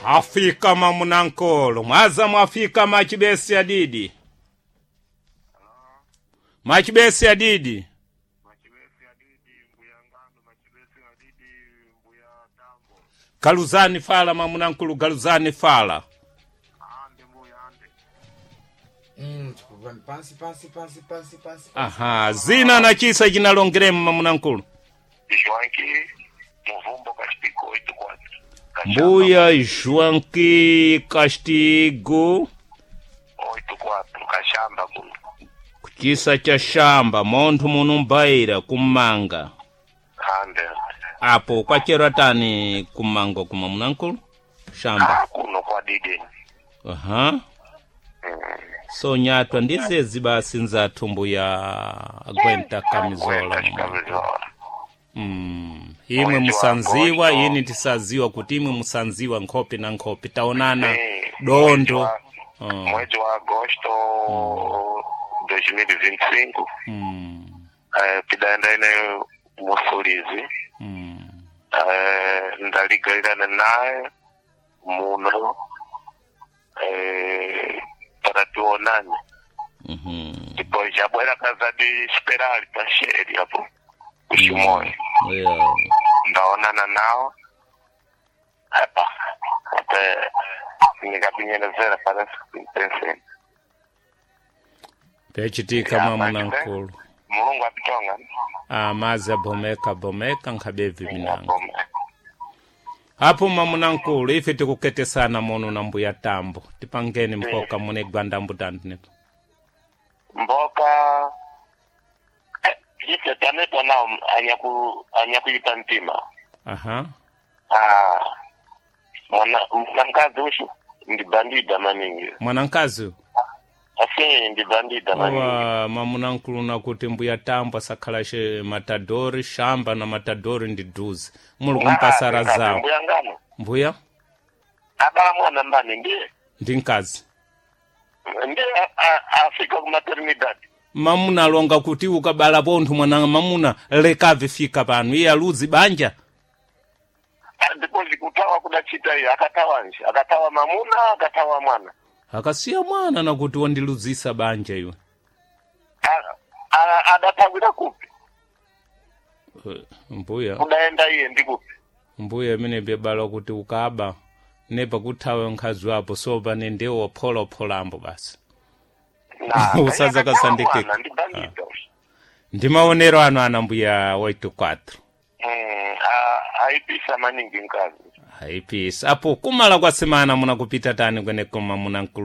Afika mamunankolo mwaza mwafika machibesi adidi machibesi adidi Machibesi adidi mbuya ngano machibesi adidi mbuya tambo galuzani fala mamunankulu galuzani fala ande mbuya ande. Tikubva pansi pansi pansi pansi pansi. Aha, zina na chisa chinalongeremu mamunankulu. Joanki muvumbo kachipiko 84. Mbuya Joanki Castigo 84 kashamba kuno. kuchisa cha shamba monthu munumbaira kummanga. Ande. Apo kwachera tani kummango kuma munankulu shamba. Ah, kuno kwa didi. Aha. So nyatwa ndizezi basi nzathu mbuya agwenta kamizola. Gwenta chikamizola. Imwe Mwezi wa musanziwa Agosto. ini tisaziwa kuti imwe musanziwa nkhope na nkhope taonana Eh, dondo. Mwezi wa Agosto 2025. Tidaenda ine Musulizi. Ndaligairana naye muno, para tionane. Depois jabwera kaza de esperar pasheri apo kuchimoyo. Yeah. Ndaonana nao apa até nikapinyenezera para pensei Pechitika Ya, mamunankulu. Mulungu apitonga. Amazi abomeka bomeka nkhabevi minango. Abome. Apo mamunankulu ife tikuketesana mono na mbuya tambo tipangeni mpoka mune gwandambu tandinepo. Mboka ife tanetwa nao anyakuipa mtima. Aha. Ah, mwana mwanamkazi ushu ndi bandida maningi. Mwanankazi Asi ndi bandida maningi. wa mamunankulu nakuti mbuya tambo asakhalashe matadori shamba na matadori ndi duzi muli kumpasara zawo. Mbuya ngano Mbuya abala mwana mbani ndiye ndi mkazi. ndiye afika ku maternidad. Mamuna alonga kuti ukabala pontho mwana mamuna lekave fika pano iye aluzi banja. Ah, depois kutawa kudachita iye akatawa nje akatawa mamuna akatawa mwana. Akasiya mwana nakuti wandiluzisa banja iwe. Adatawira kupi? Mbuya Kudaenda iye ndi kupi? mbuya imene byabala kuti ukaba nepa kuthawe nkhazi wapo sopa ne ndiwo opholopholambo basi. Na Usaza akatawa kasandikika. mwana, ndi bandida. Ndi maonero ano ana mbuya 84. Aipisa maningi mkazi. Aipisa apo kumala kwa semana munakupita tani kweneko mamunankulu.